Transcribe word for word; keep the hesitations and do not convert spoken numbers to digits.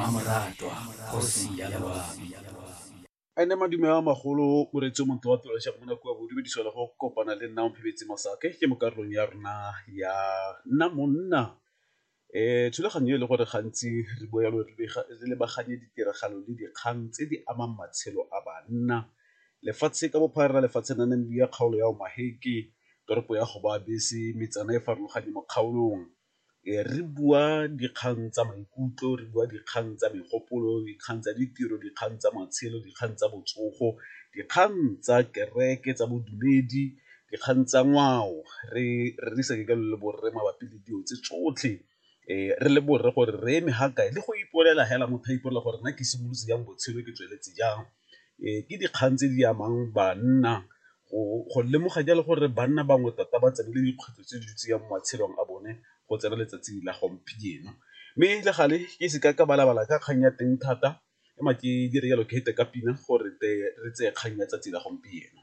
mmamoratwa kgosi ya loabi. Ene madume a magolo moreetsi o montle wa tirelo ya mo nako ya bodumediswa le go kopana le nna Omphemetse Masake ke mo karolong ya rona ya nna monna. um Thulaganyo e le gore gantsi re bua yalo re lebaganye ditiragalo le dikgang tse di amang matshelo a banna lefatshe ka bophara, lefatshe la Namibia, kgaolo ya Omaheke, toropo ya Gobabis, metsana e farologane mo kgaolong. Re bua dikgang tsa maikutlo, re bua dikgang tsa megopolo, dikgang tsa ditiro, dikgang tsa matshelo, dikgang tsa botsogo, dikgang tsa kereke, tsa bodumedi, dikgang tsa ngwao, re rerisane jalo le borre mabapi le dilo tse tsotlhe. Re le borre gore re eme ga kae le go ipolela hela motho a ipolela gore nna ke simolotse jang botshelo ke tsweletse jang. Ke dikgang tse di amang banna go lemoga jalo gore banna bangwe tota ba tsene le dikgwetlho tse di ntse jang mo matshelong a bone go tsena letsatsi la gompieno. Mme le gale ke seka ka balabala ka kgang ya teng thata ema ke dire jalo ke fete ka pina gore re tseye kgang ya tsatsi la gompieno.